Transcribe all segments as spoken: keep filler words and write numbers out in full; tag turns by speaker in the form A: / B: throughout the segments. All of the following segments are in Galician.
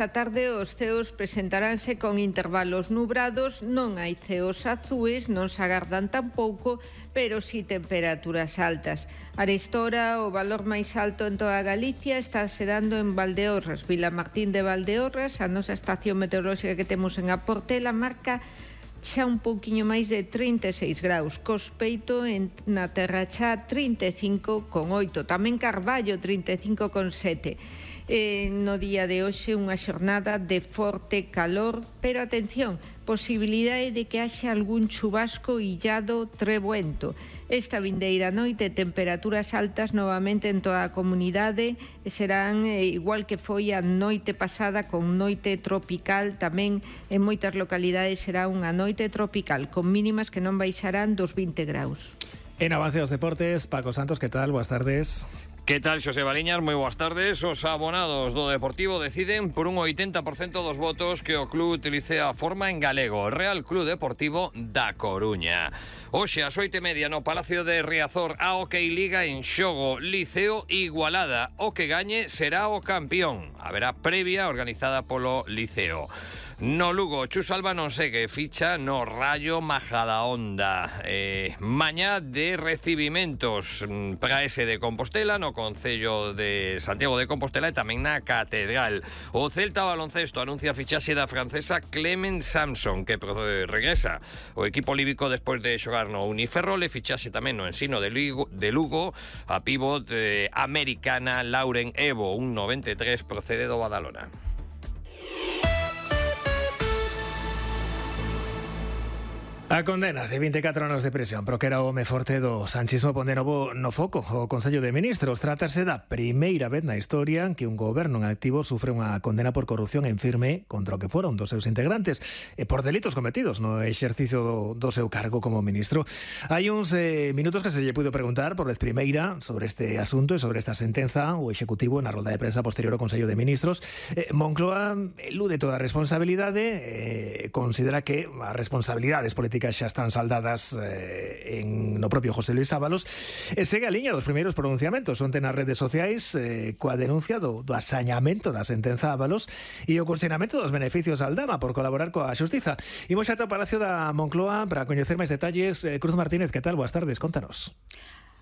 A: Esta tarde os ceos presentaránse con intervalos nubrados, non hai ceos azuis, non se agardan tampouco, pero sí temperaturas altas. Arestora, o valor máis alto en toda Galicia está se dando en Valdeorras, Vilamartín de Valdeorras, a nosa estación meteorolóxica que temos en A Portela marca xa un pouquiño máis de trinta e seis graus, Cospeito en, na Terra Chá trinta e cinco con oito, tamén Carballo trinta e cinco con sete. Eh, no día de hoxe unha xornada de forte calor, pero atención, posibilidade de que haxa algún chubasco illado trebuento. Esta vindeira noite temperaturas altas novamente en toda a comunidade, serán eh, igual que foi a noite pasada con noite tropical, tamén en moitas localidades será unha noite tropical con mínimas que non baixarán dos vinte graus.
B: En Avance dos Deportes, Paco Santos, que tal? Boas tardes.
C: Que tal, Xosé Baliñas? Moi boas tardes. Os abonados do Deportivo deciden por un oitenta por cento dos votos que o club utilice a forma en galego. Real Club Deportivo da Coruña. Hoxe, ás oito e media, no Palacio de Riazor, a Hockey Liga en xogo. Liceo Igualada. O que gañe será o campeón. Haberá previa organizada polo Liceo. No Lugo, Chus Alba non segue, ficha no Rayo Majadahonda. Eh, mañá de recibimentos para ese de Compostela, no Concello de Santiago de Compostela e tamén na Catedral. O Celta Baloncesto anuncia a fichaxe da francesa Clement Samson, que regresa o equipo líbico despois de xogar no Uniferrol, e fichaxe tamén no Ensino de Lugo, de Lugo a pívot eh, americana Lauren Evo, un noventa e tres, procede do Badalona.
B: A condena de vinte e catro anos de prisión pro que era o home forte do sanchismo pon de novo no foco o Consello de Ministros. Trátase da primeira vez na historia que un goberno en activo sufre unha condena por corrupción en firme contra o que foron dos seus integrantes e por delitos cometidos no exercicio do, do seu cargo como ministro. Hai uns eh, minutos que se lle puido preguntar por vez primeira sobre este asunto e sobre esta sentenza o Executivo na rolda de prensa posterior ao Consello de Ministros. Eh, Moncloa elude toda a responsabilidade, eh, considera que as responsabilidades políticas xa están saldadas eh, en no propio José Luis Ábalos, e segue a liña dos primeiros pronunciamentos onte nas redes sociais eh, coa denuncia do, do asañamento da sentenza Ábalos e o cuestionamento dos beneficios al Dama por colaborar coa xustiza. Imos xa ao Palacio da Moncloa para coñecer máis detalles. eh, Cruz Martínez, que tal? Boas tardes, contanos.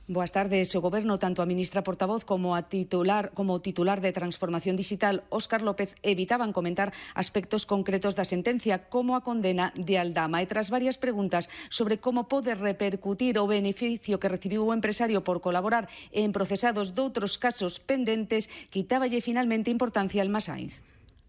D: Boas tardes. O Goberno, tanto a ministra portavoz como a titular como o titular de Transformación Digital, Óscar López, evitaban comentar aspectos concretos da sentencia, como a condena de Aldama. E tras varias preguntas sobre como pode repercutir o beneficio que recibiu o empresario por colaborar en procesados doutros casos pendentes, quitáballe finalmente importancia Elma Sainz.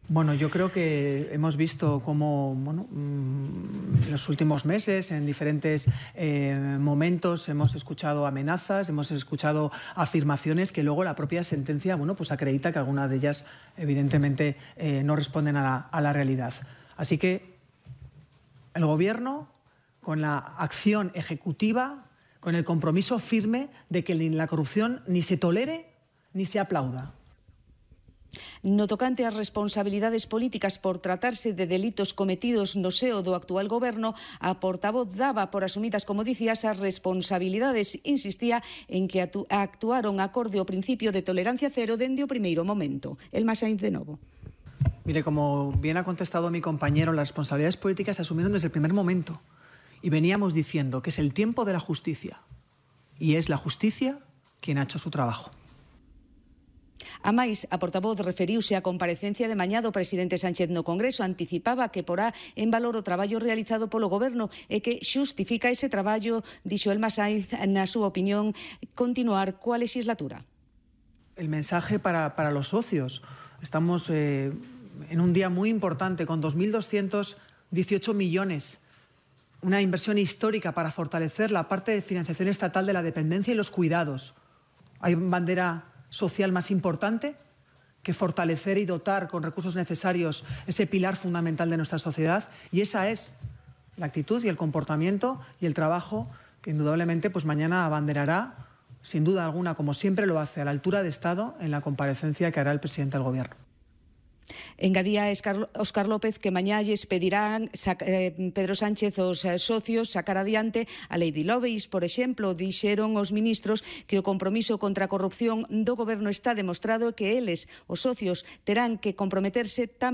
E: Bueno, yo creo que hemos visto cómo, bueno, en los últimos meses, en diferentes eh, momentos, hemos escuchado amenazas, hemos escuchado afirmaciones que luego la propia sentencia, bueno, pues acredita que algunas de ellas, evidentemente, eh, no responden a la, a la realidad. Así que el Gobierno, con la acción ejecutiva, con el compromiso firme de que la corrupción ni se tolere ni se aplauda.
D: No tocante ás responsabilidades políticas por tratarse de delitos cometidos no seo do actual goberno, a portavoz daba por asumidas, como dicías, as responsabilidades. Insistía en que actuaron acorde ao principio de tolerancia cero dende o primeiro momento. Elma Sainz de novo.
E: Mire, como bien ha contestado mi compañero, las responsabilidades políticas se asumieron desde el primer momento. Y veníamos diciendo que es el tiempo de la justicia. Y es la justicia quien ha hecho su trabajo.
D: A máis, a portavoz referiuse á comparecencia de mañá do presidente Sánchez no Congreso. Anticipaba que porá en valor o traballo realizado polo Goberno e que xustifica ese traballo, dixo Elma Sainz, na súa opinión, continuar coa legislatura.
E: El mensaje para, para los socios. Estamos eh, en un día muy importante con dos mil doscientos dieciocho millones. Una inversión histórica para fortalecer la parte de financiación estatal de la dependencia y los cuidados. Hay bandera social más importante que fortalecer y dotar con recursos necesarios ese pilar fundamental de nuestra sociedad, y esa es la actitud y el comportamiento y el trabajo que indudablemente pues mañana abanderará, sin duda alguna, como siempre lo hace, a la altura de Estado en la comparecencia que hará el presidente del Gobierno.
D: Engadía Óscar López que mañá lles pedirán Pedro Sánchez os socios sacar adiante a lei de lobbies. Por exemplo, dixeron os ministros que o compromiso contra a corrupción do goberno está demostrado, que eles, os socios, terán que comprometerse tamén